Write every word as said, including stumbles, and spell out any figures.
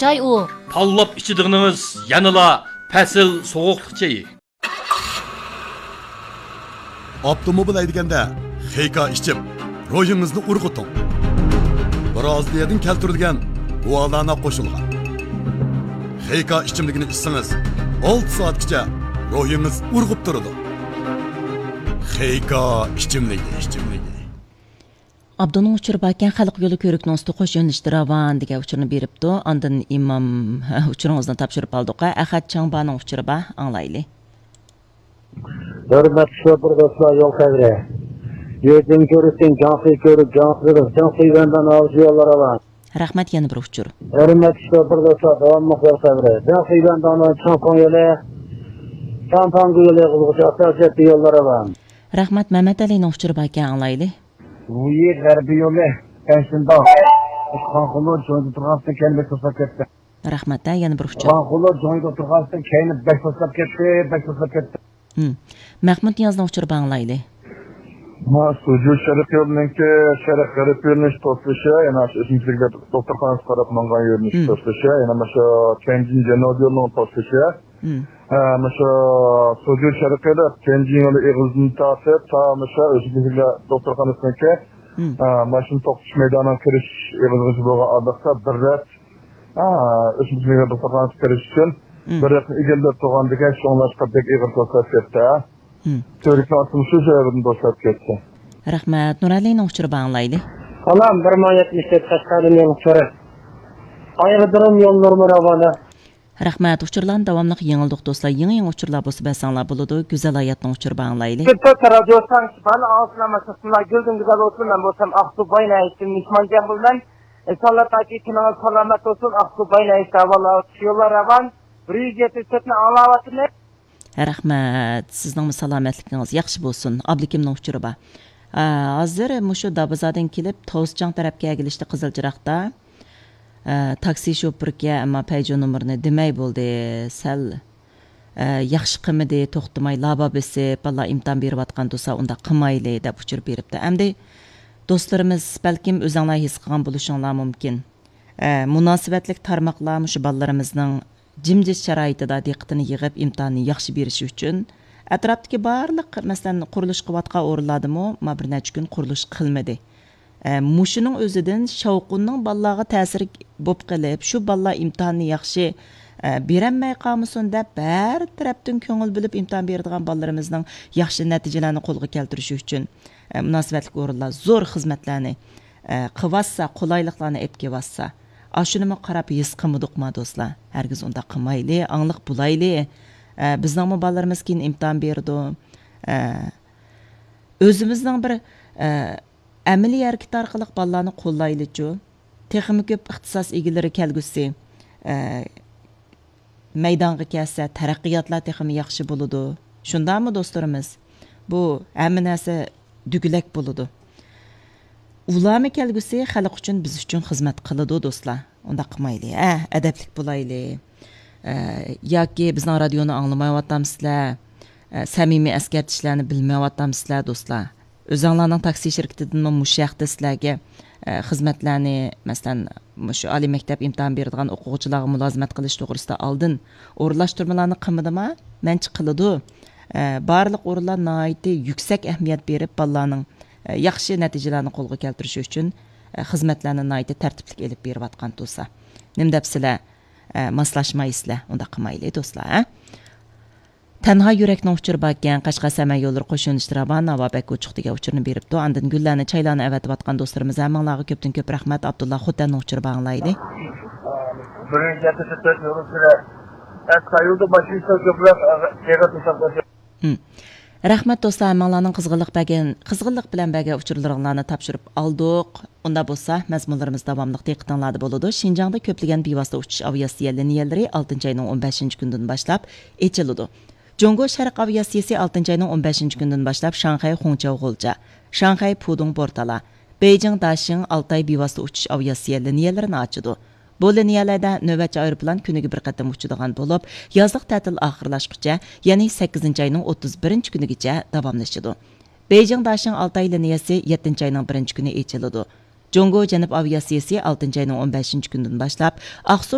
چاي ئۇ. تاللاپ ئىچىدىغىنىڭىز يەنىلا پەسىل سوغۇقلۇق چېيى. ئاپتوموبىل ھەيدىگەندە خېيكا ئىچىپ، روھىڭىزنى ئۇرغۇتۇڭ. برازىلىيەدىن كەلتۈرۈلگەن گۇالانا قوشۇلغان خېيكا ئىچىملىكىنى ئىچسىڭىز، ئالتە سائەتكىچە روھىڭىز ئۇرغۇپ تۇرىدۇ. خېيكا ئىچىملىكى، ئىچىملىكى. ئابدۇنىڭ ئۇچۇرى باركەن، خەلق يولى كۆۋرۈكنىڭ ئۈستى قوش يۆنىلىشتە راۋان دېگەن ئۇچۇرنى بېرىپتۇ. ئاندىن ئىمام، ھە، ئۇچۇرىڭىزنى تاپشۇرۇپ ئالدۇق. ئەخەت چاڭبانىڭ ئۇچۇرى بار، ئاڭلايلى. ھۆرمەتلىك شوپۇر دوستلار، يول خەۋىرى. يۈزدىن كۆرۈشتىن جاڭسى كۆرۈپ، جاڭسىدىن جاڭسى يۈەندان ئاۋۇچى يوللار راۋان. رەھمەت، يەنە بىر ئۇچۇر. ھۆرمەتلىك شوپۇر دوستلار، داۋاملىق يول خەۋىرى. جاڭسى يۈەندان چىڭفېڭ يولى، سانفاڭگۇ يولى قىزغۇچە ئاساسىي يوللار راۋان. رەھمەت، مەمەت ئەلىنىڭ ئۇچۇرى باركەن، ئاڭلايلى. ۋۇيى غەربىي يولى، پەنشىنداڭ. خانخۇلۇ جوڭيىدا تۇرغانسىدىن كەينى بەك توسلاپ كەتتى. رەھمەت، ھە، يەنە بىر ئۇچۇر. خانخۇلۇ جوڭيىدا تۇرغانسىدىن كەينى بەك توسلاپ كەتتى، بەك توسلاپ كەتتى. ھىم. مەھمۇد نىيازنىڭ ئۇچۇرى بار، ئاڭلايلى. ھە، سوجۇ شەرقىي يولىنىڭكى شەرق غەرب يۆنىلىش توسۇلۇشى، يەنە شۇ ئۆسۈمچىلىك دوختۇرخانىسىغا قاراپ ماڭغان يۆنىلىش توسۇلۇشى، يەنە مانا شۇ تيەنجىن جەنۇبىي يولىنىڭ توسۇلۇشى. ھە، مۇشۇ سوجۇ شەرقىيلىق تيەنجىن يولى ئېغىزىدىن تارتىپ، تا مۇشۇ ئۆزىگە دوختۇرخانىسىنىڭكى، ھە، ماشىنا توختىتىش مەيدانىغا كىرىش ئېغىزىغىچە بولغان ئارىلىقتا بىر رەت، ھە، ئۆسۈمچىلىك دوختۇرخانىسىغا كىرىش ئۈچۈن بىر رەتنى ئىگىلەپ تۇرغاندىكىن، شۇڭلاشقا بەك ئېغىر توسلاپ كەتتى، ھە. تۈۋرۈكنىڭ ئاستىمۇ شۇ سەۋەبىدىن توسلاپ كەتتى. رەھمەت. نۇرەلىنىڭ ئۇچۇرى بار، ئاڭلايلى. سالام، بىر مىڭ يەتمىش تۆت قەشقەردىن يېڭى ئۇچۇرى. ئايرودروم يوللىرىمۇ راۋانە. رەھمەت، ئۇچۇرلارنى داۋاملىق يېڭىلدۇق، دوستلار. يېڭى، يېڭى ئۇچۇرلار بولسا بەرسەڭلار بولىدۇ. گۈزەل ھاياتنىڭ ئۇچۇرى بار، ئاڭلايلى. سىز تۆت رادىيو تەڭشىپ، بارلىق ئاڭلىغۇچىلار ئېسىڭلار گۈلدىن گۈزەل بولسۇن. مەن بولسام ئاقسۇ باي ناھىيەسىدىن مېھمانجان بولىمەن. ئىنشاللا تاكى كۈنىڭىز سالامەت بولسۇن، ئاقسۇ باي ناھىيەسى ئەھۋاللار يوللار راۋان. بىر يۈز يەتمىش تۆتنى ئاڭلاۋاتىمەن. رەھمەت، سىزنىڭمۇ سالامەتلىكىڭىز ياخشى بولسۇن. ئابلىكىمنىڭ ئۇچۇرى بار. ئا، ھازىر مۇشۇ دابىزادىن كېلىپ، توسچاڭ تەرەپكە ئەگىلىشتە قىزىل چىراغدا، ئە، تاكسى شوپۇركەن، ئەمما پەيجو نومۇرىنى دېمەي بولدى. سەل، ئە، ياخشى قىلمىدى، توختىماي لابا بېسىپ، بالىلار ئىمتىھان بېرىۋاتقان تۇرسا، ئۇنداق قىلمايلى، دەپ ئۇچۇر بېرىپتۇ. ئەمدى دوستلىرىمىز، بەلكىم ئۆزۈڭلار ھېس قىلغان بولۇشۇڭلار مۇمكىن. ئە، مۇناسىۋەتلىك تارماقلار مۇشۇ بالىلىرىمىزنىڭ جىمجىت شارائىتىدا دىققىتىنى يىغىپ، ئىمتىھاننى ياخشى بېرىشى ئۈچۈن، ئەتراپتىكى بارلىق، مەسىلەن، قۇرۇلۇش قىلىۋاتقان ئورۇنلاردىمۇ ما بىر نەچچە كۈن قۇرۇلۇش قىلمىدى. ئە، مۇشۇنىڭ ئۆزىدىن شاۋقۇننىڭ بالىلارغا تەسىرى بولۇپ قېلىپ، شۇ بالىلار ئىمتىھاننى ياخشى، ئە، بېرەلمەي قالمىسۇن دەپ، ھەر تەرەپتىن كۆڭۈل بۆلۈپ ئىمتىھان بېرىدىغان بالىلىرىمىزنىڭ ياخشى نەتىجىلەرنى قولغا كەلتۈرۈشى ئۈچۈن، ئە، مۇناسىۋەتلىك ئورۇنلار زور خىزمەتلەرنى، ئە، قىلىۋاتسا، قولايلىقلارنى ئېلىپ كېلىۋاتسا، ئاشۇنىمۇ قاراپ ھېس قىلمىدۇقما، دوستلار؟ ھەرگىز ئۇنداق قىلمايلى، ئاڭلىق بولايلى. ئە، بىزنىڭمۇ بالىلىرىمىز كېيىن ئىمتىھان بېرىدۇ. ئە، ئۆزىمىزنىڭ بىر، ئە، ئەمەلىي ھەرىكىتى ئارقىلىق بالىلارنى قوللايلىچۇ. تېخىمۇ كۆپ ئىختىساس ئىگىلىرى كەلگۈسى، ئە، مەيدانغا كەلسە، تەرەققىياتلار تېخىمۇ ياخشى بولىدۇ. شۇنداقمۇ، دوستلىرىمىز؟ بۇ ھەممە نەرسە دۈگىلەك بولىدۇ. ئۇلارمۇ كەلگۈسى خەلق ئۈچۈن، بىز ئۈچۈن خىزمەت قىلىدۇ، دوستلار. ئۇنداق قىلمايلى، ھە، ئەدەپلىك بولايلى. ئە، ياكى بىزنىڭ رادىيونى ئاڭلىمايۋاتامسىلەر؟ ئە، سەمىمىي ئەسكەرتىشلەرنى بىلمەيۋاتامسىلەر، دوستلار؟ ئۆزۈڭلارنىڭ تاكسى شىركىتىدىنمۇ مۇشۇ ھەقتە سىلەرگە، ئە، خىزمەتلەرنى، مەسىلەن، مۇشۇ ئالىي مەكتەپ ئىمتىھان بېرىدىغان ئوقۇغۇچىلارغا مۇلازىمەت قىلىش توغرىسىدا ئالدىن ئورۇنلاشتۇرمىلارنى قىلمىدىما؟ مەنچە قىلىدۇ. ئە، بارلىق ئورۇنلار ناھايىتى يۈكسەك ئەھمىيەت بېرىپ، بالىلارنىڭ، ئە، ياخشى نەتىجىلەرنى قولغا كەلتۈرۈشى ئۈچۈن، ئە، خىزمەتلەرنى ناھايىتى تەرتىپلىك ئېلىپ بېرىۋاتقان تۇرسا. نېمە دەپسىلەر؟ ئە، ماسلاشمايسىلەر. ئۇنداق قىلمايلى، دوستلار، ھە؟ تەنھا يۈرەكنىڭ ئۇچۇرى باركەن، قەشقەر سەمەن يوللىرى قوش يۆنىلىشتە راۋان، ھاۋا بەك ئوچۇق دېگەن ئۇچۇرنى بېرىپتۇ. ئاندىن گۈللەرنى، چايلارنى ئەۋەتىۋاتقان دوستلىرىمىز ھەممىڭلارغا كۆپتىن كۆپ رەھمەت. ئابدۇللا خوتەننىڭ ئۇچۇرى بار، ئاڭلايلى. بىرىنچى ھەپتە تۆت يول ئۈستىدە ئەسقا يولدا ماشىنا كۆپرەك ئېغىر توساق باشلايدۇ. ھىم. رەھمەت دوستلار، ھەممىڭلارنىڭ قىزغىنلىق بەرگەن، قىزغىنلىق بىلەن بەرگەن ئۇچۇرلىرىڭلارنى تاپشۇرۇپ ئالدۇق. ئۇنداق بولسا، مەزمۇنلىرىمىز داۋاملىق دىققىتىڭلاردا بولىدۇ. شىنجاڭدا كۆپلىگەن بىۋاسىتە ئۇچۇش ئاۋىئاتسىيە لىنىيەلىرى ئالتىنچى ئاينىڭ ئون بەشىنچى كۈنىدىن باشلاپ ئېچىلىدۇ. جۇڭگو شەرق ئاۋىئاتسىيىسى ئالتىنچى ئاينىڭ ئون بەشىنچى كۈنىدىن باشلاپ شاڭخەي خۇڭچياۋ غۇلجا، شاڭخەي پۇدۇڭ بورتالا، بېيجىڭ داشىڭ ئالتاي بىۋاسىتە ئۇچۇش ئاۋىئاتسىيە لىنىيەلىرىنى ئاچىدۇ. بۇ لىنىيەلەردە نۆۋەتچى ئايروپىلان كۈنىگە بىر قېتىم ئۇچىدىغان بولۇپ، يازلىق تەتىل ئاخىرلاشقۇچە، يەنى سەككىزىنچى ئاينىڭ ئوتتۇز بىرىنچى كۈنىگىچە داۋاملىشىدۇ. بېيجىڭ داشىڭ ئالتاي لىنىيەسى يەتتىنچى ئاينىڭ بىرىنچى كۈنى ئېچىلىدۇ. جۇڭگو جەنۇب ئاۋىئاتسىيىسى ئالتىنچى ئاينىڭ ئون بەشىنچى كۈنىدىن باشلاپ ئاقسۇ